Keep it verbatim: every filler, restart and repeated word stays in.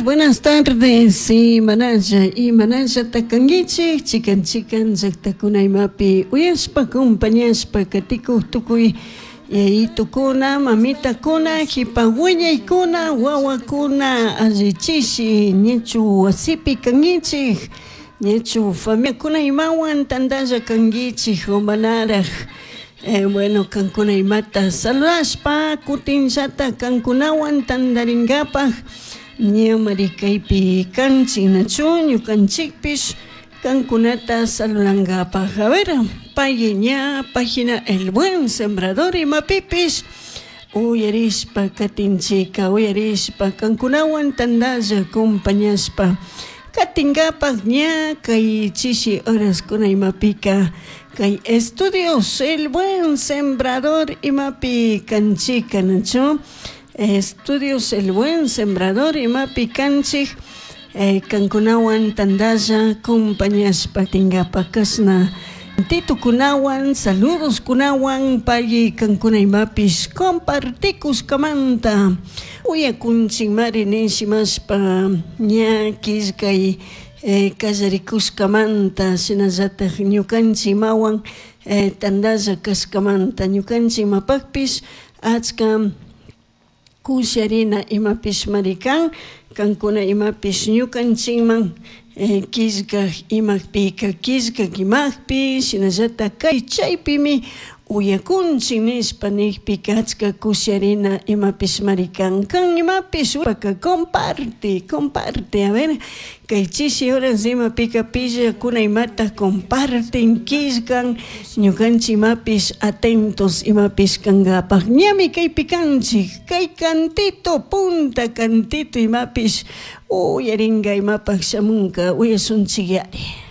Buenas tardes, sí, manalla y manalla takanguichik, chikan chikan llaqtakuna imapi uyashpa acompañashpa katikuq tukuy yayitukuna, mamitakuna, hipa wiñaykuna, wawakuna, allichishi ñachu wasipi kankichik, ñachu familiakuna imawan tantalla kankichik o manaraj. Eh, bueno, kankuna imata saludashpa kutinllata kankunawan tantarinkapaj ñamari kaypi kanchik nachu ñukanchikpish kankunata saludankapaj. A ver, pay ña página El Buen Sembrador imapipish uyarishpa katinchika uyarishpa kankunawan tantalla acompañashpa katinkapaj ña kay chishi horaskuna imapika kay estudios El Buen Sembrador imapi kanchika nachu estudios El Buen Sembrador imapi kanchik eh, kankunawan tantalla acompañashpa tinkapaj kashna titukunawan saludos kunawan pay kankuna imapish compartikushkamanta uyakunchikmari nishimashpa ña killkay eh, kallarikushkamanta shinallatak ñukanchik imawan eh, tantalla kashkamanta ñukanchik imapakpish achka kusharina imapishmari kan kankuna imapish ñukanchikman eh, killkak imakpika killkak imakpi shinallatak kay chaypimi uyakunchik nishpa nikpika achka kusharina imapishmari kan kan imapish paka comparte comparte a ver kay chishi horas imapika pillakuna imata comparten killkan ñukanchik imapish atentos imapish kankapak ñami kaypi kanchik kay cantito punta cantito imapish uyarinka imapak shamunka uyasunchik yari.